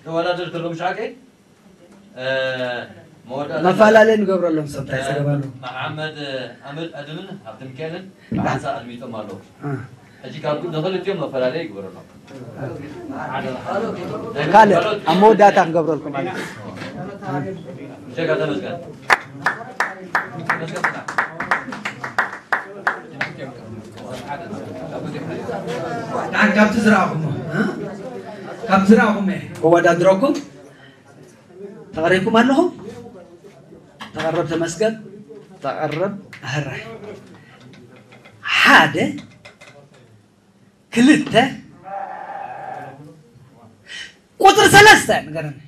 ተወዳደርቲ ኣለዉ፣ ምሽ ሓቀይ? እ፣ መወዳእታ መፈላለይ ንገብረሎም፣ ሰብ እንታይ ጸገም ኣለዎ? መሓመድ ኣምር ኣድምን ሃብተ ሚካኤልን ብሓንሳእ ኣድሚጦም ኣለዉ። ሕጂ ካብ ንኽልቲኦም መፈላለይ ይግበረሎም። ካልእ ኣብ መወዳእታ ክንገብረልኩም ማለት እዩ። ብጀካ ተመስገን። ንዓን ካብቲ ዝረኣኹሞ፣ እ? ካብቲ ዝረኣኹሞ እየ ከወዳድረኩም። ተቐሪብኩም ኣለኹም? ተቐረብ ተመስገን፣ ተቐረብ ኣህራይ። ሓደ፣ ክልተ፣ ቁፅሪ ሰለስተ ንገረኒ።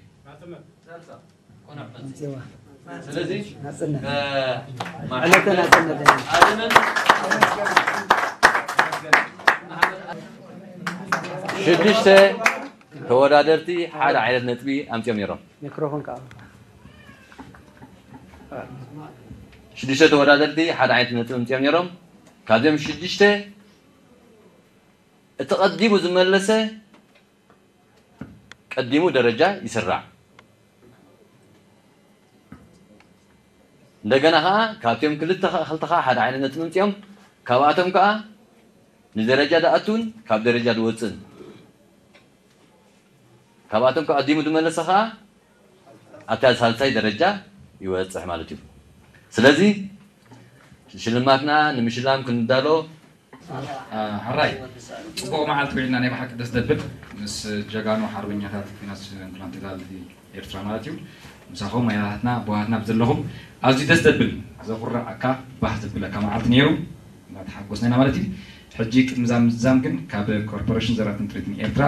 ስለዚ ናፅነት። ዕለተ ናፅነት። ኣድምን ሽዱሽተ ተወዳደርቲ ሓደ ዓይነት ነጥቢ ኣምፅኦም ነይሮም። ሚክሮፎን ከዓ ሽዱሽተ ተወዳደርቲ ሓደ ዓይነት ነጥቢ ኣምፅኦም ነይሮም። ካብዚኦም ሽዱሽተ እቲ ቀዲሙ ዝመለሰ ቀዲሙ ደረጃ ይስራዕ። እንደገና ከዓ ካብቲኦም ክልተ ከዓ ክልተ ከዓ ሓደ ዓይነት ነጥቢ ምፅኦም ካብኣቶም ከዓ ንደረጃ ድኣቱን ካብ ደረጃ ድወፅን ካብኣቶም ከዓ ቀዲሙ ዝመለሰ ከዓ ኣብታ ሳልሳይ ደረጃ ይወፅሕ ማለት እዩ። ስለዚ ሽልማትና ንምሽላም ክንዳሎ ሕራይ ፅቡቕ መዓልቲ ውዒልና ናይ ብሓቂ ደስ ደብል ምስ ጀጋኑ ሓርበኛታት ፊናንስ እንኩላን ተጋልቲ ኤርትራ ማለት እዩ። ምሳኹም ኣያታትና ኣቦሃትና ብዘለኹም ኣዝዩ ደስ ደብል ዘኹርዓካ ባህ ዘብለካ መዓልቲ ነይሩ እናተሓጎስና ኢና ማለት እዩ። ሕጂ ቅድሚ ዛ ምዝዛም ግን ካብ ኮርፖሬሽን ዘራትን ትሬድን ኤርትራ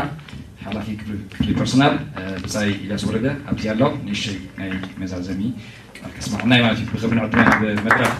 ሓላፊ ክፍሊ ፐርሶናል ብፃይ ኢልያስ ወረደ ኣብዚ ኣሎ ንእሽተይ ናይ መዛዘሚ ቃል ከስማዕና እዩ ማለት እዩ። ብክብሪ ንዕድመ ናብ መድረክ